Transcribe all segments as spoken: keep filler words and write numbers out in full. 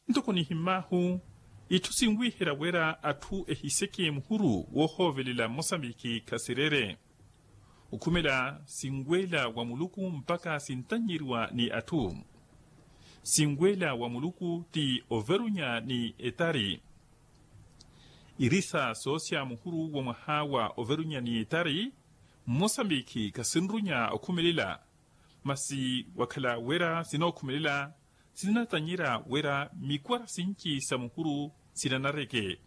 Ntoko nihimmaahu itthu sinwiihela wira atthu ehiseke muhuru woohoovelela mmosambiki khasirere. Okhumela sinweela wa muluku mpakha sintannyeriwa ni atthu. Sinweela wa muluku ti overunya ni etari. Irisa soosya muhuru wa mwaha wa overunya ni etari. Mmosambiki khasinrunya okhumelela. Masi wakhala wira sinookhumelela sinatanyerya wira mikwara sinci sa muhuru sinanareke.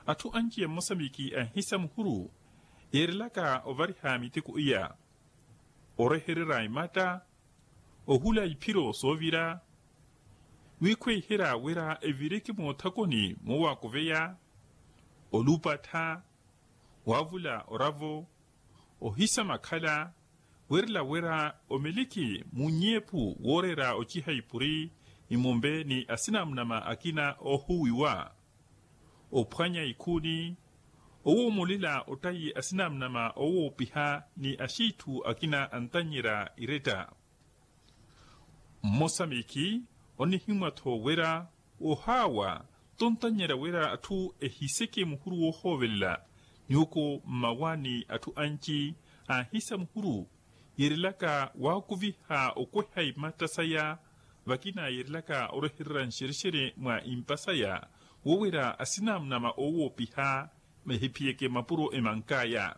Atthu anci a mmosambiki anhisa muhuru yeerelaka ovariha miteko iya, orehererya imatta, ohula iphiro soovira, wiikhweiherya wira evireke moothakoni moowakuveya, olupattha, waavula oravo, ohisa makhala, weerela wira omiliki munnyeephu wooreera ociha ipuri, imumbe ni asinamunama akina oohuwiwa, ophwanya ikhuuni, owoomolela ottayi asinamunama oowoopiha ni axiitthu akina antannyerya iretta. Mmosa miikhi onihimwa-tho wira ohaawa tontannyerya wira atthu ehiseke muhuru woohoovelela. Nyuuko mmawaani atthu anci aahisa muhuru yeerelaka waakuviha okweha imatta saya, vakina yeerelaka orehererya nxerexere mwa impa saya, wo wira asinamunama oowoopiha ehiphiyeke mapuro emank'aya.